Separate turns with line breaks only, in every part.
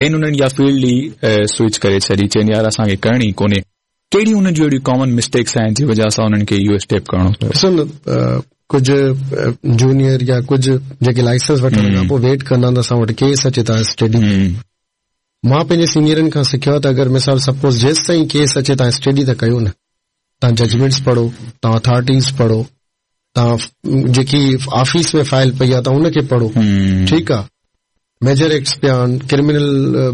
ڪن انهن اها فيلڊ ئي سوئچ ڪري ڇڏي چين يار اسان کي ڪرڻي ئي ڪونهي ڪهڙيون انهن جون اهڙيون ڪامن مسٽيڪس آهن جي وجه سان انهن کي اهو اسٽيپ ڪرڻو
پيو؟ ڏسو نه ڪجهه جونيئر يا ڪجهه جيڪي لائسنس وٺڻ کان پوء ويٽ ڪندا آهن ته اسان وٽ ڪيس اچي ته اسٽڊي مان پنهنجي سينيئرن کان سکيو آهي ته اگر مثال سپوز جيستائين ڪيس اچي توهان اسٽڊي ته ڪيو نه توهان ججمينٽس پڙهو توهان اٿارٽيز پڙهو توهان جيڪي آفيس ۾ فائل پئي آهي توهان ان کي پڙهو ٺيڪ آهي ميجر ايڪٽس پيا آهن ڪرمنل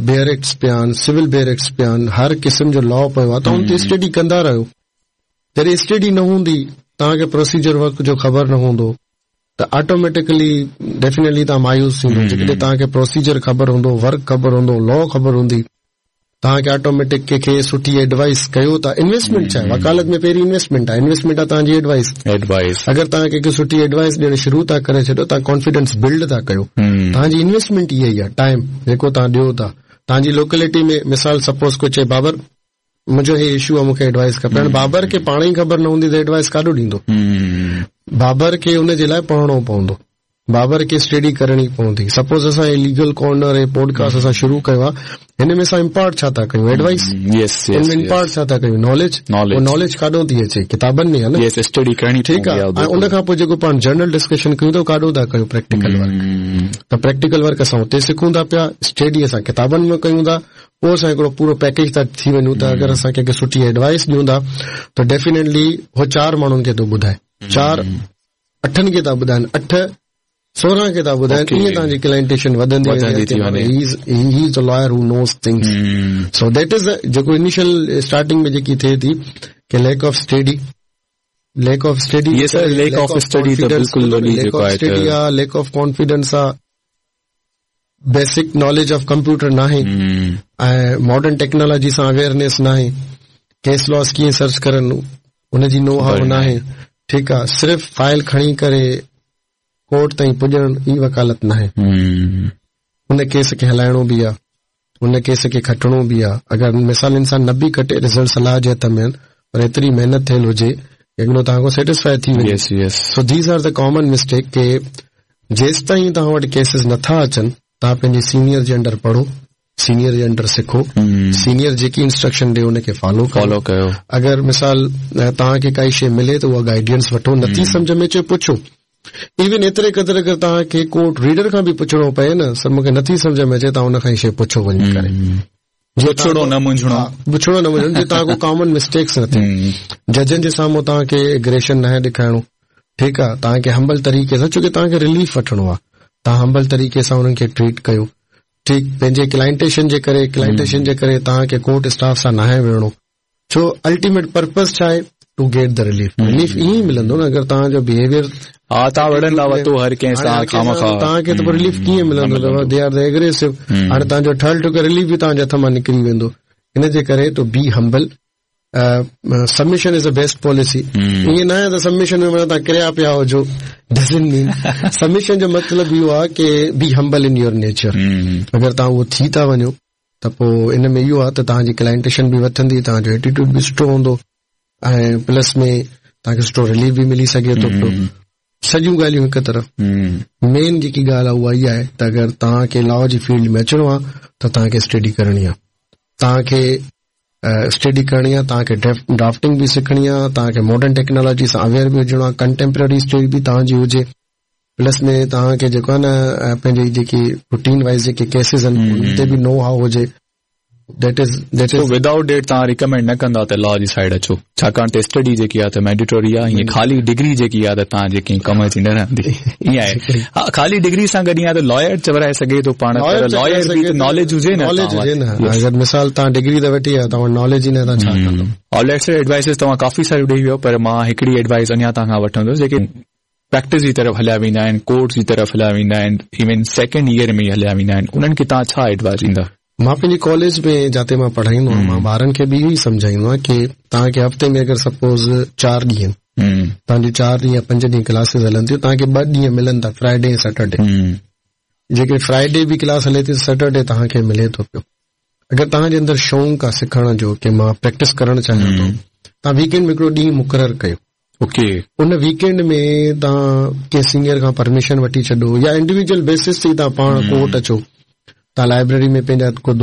بيئر ايڪٽس پيا آهن سول بيئر ايڪٽس پيا آهن هر قسم جو لا پيو آهي توهان ان تي اسٽڊي ڪندا رهيو جڏهن اسٽڊي نه هوندي توهان کي پروسيجر ورڪ جو خبر نه هوندو ته آٽوميٽڪلي ڊيفينيٽلي توهان مايوس ٿيندو جيڪڏهن توهان کي پروسيجر خبر هوندو ورڪ خبر هوندو لا خبر هوندي توهان کي آٽوميٽڪ ڪنهن کي سٺي ايڊوائس ڪيو ٿا انويسٽمينٽ ڇا آهي وڪالت ۾ پهرين انويسٽمينٽ آهي انويسٽمينٽ آهي توهان جي ايڊوائس
ايڊوائس
اگر توهان ڪنهن کي سٺي ايڊوائس ڏيڻ شروع ٿا ڪري ڇڏيو توهان ڪانفيڊنس بلڊ ٿا ڪيو توهان جي انويسٽمينٽ اها ئي آهي ٽائيم جيڪو توهان ڏيو ٿا توهان جي لوڪلٽي ۾ مثال سپوز ڪو چئي بابر منهنجو هي اشو آهي مون کي ايڊوائس کپي هاڻي بابر کي پاڻ ئي خبر نه هوندي ته ايڊوائس ڪاڏو ڏيندو بابر کي ان جي لاء پڙهڻو پوندو بابر کي اسٽڊي ڪرڻي پوندي. سپوز اسان هي ليگل ڪارنر هي پوڊڪاسٽ اسان شروع ڪيو آ هن ۾ اسان امپارٽ ڇا ٿا ڪيون ايڊوائس
يس
ان ۾ امپارٽ ڇا ٿا ڪيون ناليج
ناليج
ناليج ڪاڏو ٿي اچي ڪتابن ۾ آ
نه يس اسٽڊي ڪرڻي
ٺيڪ آ ۽ ان کان پوء جيڪو پاڻ جنرل ڊسڪشن ڪيون ٿا ڪاڏو ٿا ڪيون پريڪٽيڪل ورڪ ته پريڪٽيڪل ورڪ اسان اتي سکون ٿا پيا اسٽڊي اسان ڪتابن ۾ ڪيون ٿا پوء اسان هڪڙو پورو پيڪيج ٿا ٿي وڃون ته اگر اسان ڪنهن کي سٺي ايڊوائس ڏيون ٿا ته ڊيفينيٽلي هو چار ماڻهن کي ٿو ٻڌائي چار اٺن کي ٿا ٻڌائن اٺ 16 کي ٿا ٻڌائن ائين توهان جي ڪلائنٽيشن وڌندي
وڌندي ٿي وڃي
he is the lawyer who knows things so that is جيڪو انيشل اسٽارٽنگ ۾ جيڪي ٿئي ٿي ڪي lack of study lack of study
yes sir lack of study ته بلڪل
وڏي جيڪو آهي اسٽڊي آ ليڪ آف ڪانفيڊنس آ بيسڪ ناليج آف ڪمپيوٽر ناهي ۽ ماڊرن ٽيڪنالاجي سان اويئرنيس ناهي ڪيس لاز ڪيئن سرچ ڪرن ان جي نو how ناهي ٺيڪ آ صرف فائل کڻي ڪري ڪورٽ تائين پڄڻ ئي وڪالت ناهي ان ڪيس کي هلائڻو به آ ان ڪيس کي کٽڻو به آ اگر مثال انسان نه به کٽي رزلٽس الله جي هٿ ۾ آهن پر ايتري محنت ٿيل هجي اڳلو توهان کان سيٽسفائي ٿي
وڃي yes
yes so these are the common mistake ڪي جيستائين توهان وٽ ڪيسز نٿا اچن توهان پنهنجي سينيئر جي انڊر پڙهو سينيئر جي انڊر سکو سينيئر جيڪي انسٽرڪشن ڏي ان کي فالو
فالو ڪيو
اگر مثال توهان کي ڪائي شي ملي ته اها گائيڊنس وٺو نٿي سمجهه ۾ اچي پڇو ايون ايتري قدر اگر توهان کي ڪورٽ ريڊر کان به پڇڻو پئي نه سر مونکي نٿي سمجهه ۾ اچي توهان ان کان ئي شي پڇو وڃي ڪري
پڇڻو نه منجهڻو
پڇڻو نه منجهڻو جيئن توهان کان ڪامن مسٽيڪس نه ٿين ججن جي سامهون توهان کي اگريشن ناهي ڏيکارڻو ٺيڪ آ توهان کي همبل طريقي سان ڇوڪه توهان کي رليف وٺڻو آ توهان همبل طريقي سان انهن کي ٽريٽ ڪيو ٺيڪ پنهنجي ڪلائنٽيشن جي ڪري ڪلائنٽيشن جي ڪري توهان کي ڪورٽ اسٽاف سان ناهي وڙهڻو ڇو الٽيميٽ پرپز ڇا آهي to get the relief relief ائين ئي ملندو نه اگر توهان جو بيهيويئر
ها توهان وڙهندا وتو هر ڪنهن سان
خوامخواه توهان کي ته پوء رليف ڪيئن ملندو ته they are the ايگريسو هاڻي توهان جو ٺهيل ٺڪيل رليف به توهان جي هٿ مان نڪري ويندو ان جي ڪري to be humble submission is the best policy ائين نه آهي ته سبمشن ۾ معنيٰ توهان ڪريا پيا هجو ڊزنٽ مين سبمشن جو مطلب اهو آهي ڪي be humble in your nature اگر توهان اهو ٿي ٿا وڃو ته پوء ان ۾ اهو آهي ته توهان جي ڪلائنٽيشن به وڌندي، توهان جو ايٽيٽيوڊ به سٺو هوندو ۽ پلس ۾ توهان کي سٺو رليف به ملي سگهي ٿو پيو. سڄيون ڳالهيون هڪ طرف. مين جيڪي ڳالهه آهي اها اها آهي ته اگر توهان کي لا جي فيلڊ ۾ اچڻو آهي ته توهان کي اسٽڊي ڪرڻي آهي. توهان کي اسٽڊي ڪرڻي آهي، توهان کي ڊرافٽنگ به سکڻي آهي، توهان کي ماڊرن ٽيڪنالاجي سان اويئر به هجڻو آهي، ڪنٽيمپرري اسٽڊي به توهان جي هجي. پلس ۾ توهان کي جيڪو آهي نه پنهنجي جيڪي روٽين وائز جيڪي ڪيسز آهن انهن تي به نو how هجي
that is that is without that توهان ريڪمينڊ نه ڪندا ته لا جي سائيڊ اچو ڇاڪاڻ ته اسٽڊي جيڪي آهي ته مينڊيٽوري آهي ائين خالي ڊگري جيڪي آهي ته توهان جي ڪنهن ڪم جي نه رهندي ائين آهي ها خالي ڊگري سان گڏ ائين آهي ته لائر چورائي سگهي ٿو پاڻ پر لائر به ته ناليج هجي
نه ناليج هجي نه اگر مثال توهان ڊگري ته وٺي آيا توهان وٽ ناليج ئي نه توهان ڇا ڪندو
آل رائٽ سر ايڊوائسز توهان ڪافي ساريون ڏئي ويو پر مان هڪڙي ايڊوائس اڃا توهان کان وٺندس جيڪي پريڪٽس جي طرف هليا ويندا آهن، ڪورٽ جي طرف هليا ويندا آهن، ايون سيڪنڊ ايئر ۾ ئي هليا ويندا آهن، انهن کي توهان ڇا ايڊوائس ڏيندا؟
مان پنهنجي ڪاليج ۾ جاتي مان پڙهائيندو آهيان مان ٻارن کي به اهو ئي سمجهائيندو آهيان ڪي توهان کي هفتي ۾ اگر سپوز چار ڏينهن توهان جون چار ڏينهن يا پنج ڏينهن ڪلاسز هلن ٿيون توهان کي ٻه ڏينهن ملن ٿا فرائيڊي ۽ سيٽرڊي جيڪڏهن فرائيڊي به ڪلاس هلي ٿي ته سيٽرڊي توهان کي ملي ٿو پيو اگر توهان جي اندر شوق آهي سکڻ جو ڪي مان پريڪٽس ڪرڻ چاهيان ٿو توهان ويڪينڊ ۾ هڪڙو ڏينهن مقرر ڪيو
اوڪي.
ان ويڪينڊ ۾ توهان ڪنهن سينيئر کان پرميشن وٺي ڇڏو يا انڊيويجوئل بيسس تي ئي توهان پاڻ ڪورٽ اچو. توهان لائبريري ۾ پنهنجا ڪو